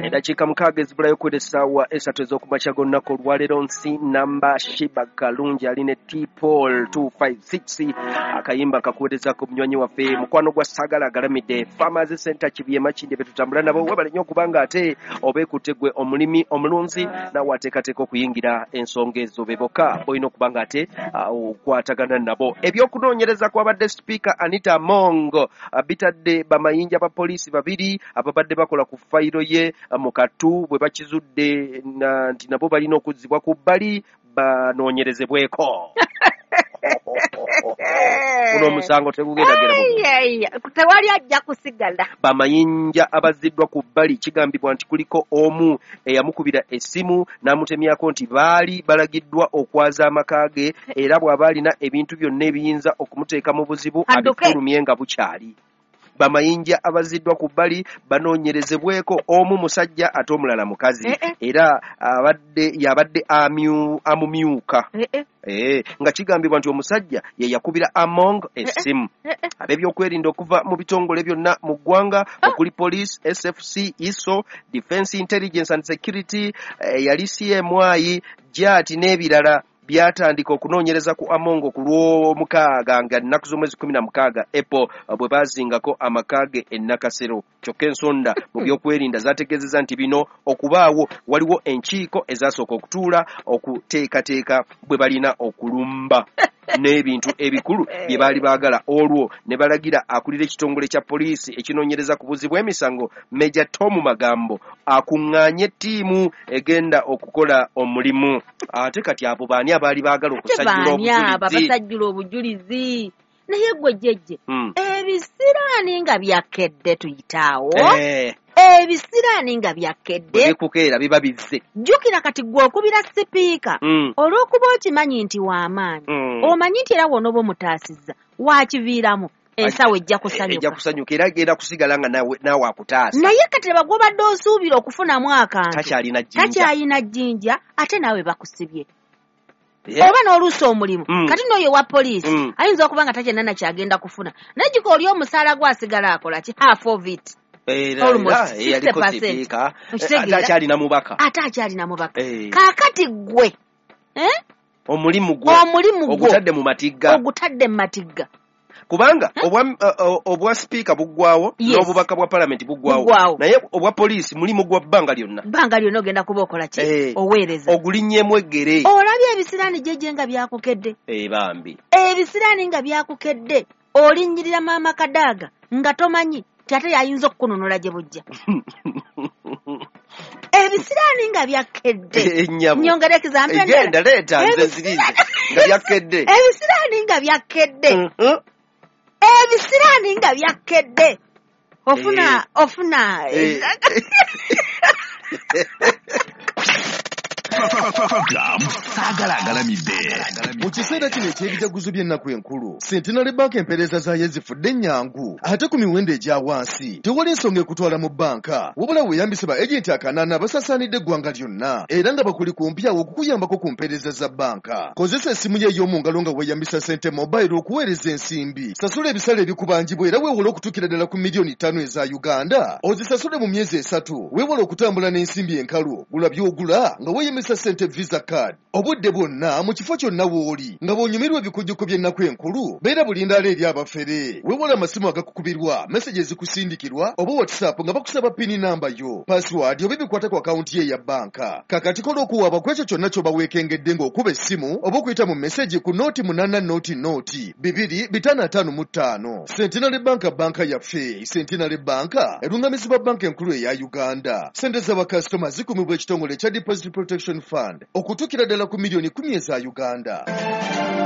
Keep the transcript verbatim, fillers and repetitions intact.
Eddakiika mukaaga ezibulayo kwera essaawa esatu ez'okumakya g'olunaku olwaleero. Nsi namba Shiba Kalungi ali ne T Paul two five six, akayimba kakuweerezako munywanyi waffe mukwano gwa Sagala Agalamidde Farmers Center Kibuye Makindye be tutambula nabo. Webale nnyo okubanga ate obeekutte gwe omulimi omulunzi naawe ateekateeka okuyingira ensonga ezo, be bokka olina okuba nga ate okwatagana nabo. Ebyokunoonyereza kwabadde Sipiika Anita Among bitadde bamayinja ba poliisi babiri ababadde bakola ku fayiro ye mu kattu bwe bakizudde nti nabo balina okuzzibwa ku bbali banoonyerezebweko. Guno omusango tegugendagenda bulungi. Tewali ajja kusigala. Bamayinja abazziddwa ku bbali kigambibwa nti kuliko omu eyamukubira essimu n'amutemyako nti baali balagiddwa okwaza amaka ge, era bw'aba alina ebintu byonna ebiyinza okumuteeka mu buzibu abifulumye nga bukyali. Bamayinja abazziddwa ku bbali banoonyerezebweko, omu musajja ate omulala mukazi, era abadde yabadde amumyuka. Eh, nga kigambibwa nti omusajja ye yakubira Among essimu. Ab'ebyokwerinda okuva mu bitongole byonna mu ggwanga okuli police, S F C, I S O, Defense Intelligence and Security, yali C M I, J A T n'ebirala byatandika okunoonyereza ku Among ku lw'omukaaga nga nnaku z'omwezi kumi na mukaaga April bwe baazingako amaka ge e Nakasero. Kyokka ensonda mu byokwerinda zaategeezezza nti bino okubaawo waliwo enkiiko ezasooka okutuula okuteekateeka bwe balina okulumba n'ebintu ebikulu bye baali baagala, olwo ne balagira akulira ekitongole kya poliisi ekinoonyereza ku buzzi bw'emisango Major Tom Magambo akuŋŋaanye ttiimu egenda okukola omulimu. Ate kati abo baani abaali baagala okusajjula obujulizi? Abasajjula obujulizi. Naye gwe jjejje, ebisiraani nga byakedde tuyitaawo. Ebisiraani nga byakedde bikukeera biba bizze. Jjukira kati gwe okubira sipiika olw'okuba okimanyi nti w'amaanyi, omanyi nti era w'onooba omutaasizza waakiviiramu ensawo ejja kusanyuka. Ejja kusanyuka era egenda kusigala nga naawe akutaasa. Naye kati laba gw'obadde osuubira okufunamu akantu takyalina jjinja, takyalina jjinja ate naawe bakusibye. Oba n'oluusi omulimu kati n'oyo wa poliisi ayinza okuba nga takyalina na kyagenda kufuna, naye jjukira oli omusaala gwe asigala akola ki? Half of it. Almost sixty percent. Ate akyalina mubaka. Ate akyalina mubaka. Kaakati ggwe omulimu gwo ogutadde mu matigga, ogutadde mu matigga. Kubanga obwa sipiika buggwawo n'obubaka bwa palamenti buggwawo, naye obwa poliisi mulimu gwa bbanga lyonna. Bbanga lyonna ogenda kuba okola ki? Oweereza. Ogulinnyemu eggere. Olabye ebisiraani jjejje nga byakukedde. Bambi. Ebisiraani nga byakukedde, olinnyirira maama Kadaaga nga tomanyi nti ate yayinza okukununula gye bujja. Ebisiraani nga byakedde. Nnyongera ekizambi endala. Genda leeta nze nzirize nga byakedde. Ebisiraani nga byakedde. Ebisiraani nga byakedde. Ofuna ofuna Sagala Agalamidde. Mu kiseera kino eky'ebijaguzo by'ennaku enkulu, Centenary Bank empeereza zaayo zifudde ennyangu ate ku miwendo egya wansi. Tewali nsonga ekutwala mu bbanka, wabula weeyambise ba agenti akanaana abasaasaanidde eggwanga lyonna era nga bakuli kumpi awo okukuyambako ku mpeereza za bbanka. Kozesa essimu yo ey'omu ngalo nga weeyambisa Sente Mobile okuweereza ensimbi. Sasula ebisale ebikubanjibwa era weewole okutuukira ddala ku miliyoni ttaano eza Uganda. Ozisasule mu myezi esatu. Weewale okutambula n'ensimbi enkalu. Gula by'ogula nga weeyambisa Sente Visa card. Obudde bwonna mu kifo kyonna w'oli nga bw'onyumirwa ebikujjuko by'ennaku enkulu, beera bulindaala eri abafere. Weewale amasimu agakukubirwa, meseji ezikusindikirwa oba WhatsApp nga bakusaba pini namba yo, password oba ebikwata ku akawunti ye eya bbanka. Kakati kola okuwaaba ku ekyo kyonna ky'oba weekengedde ng'okuba essimu oba okuyita mu meseji ku nooti munaana nooti nooti bibiri bitaano ataano mu ttaano. Centenary Bank bbanka yaffe. Centenary Bank erungamizibwa bbanka enkulu eya Uganda. Ssente z'abakasitoma zikumibwa ekitongole ekya Deposit Protection Fund okutuukira ddala ku miliyoni kumi eza Uganda.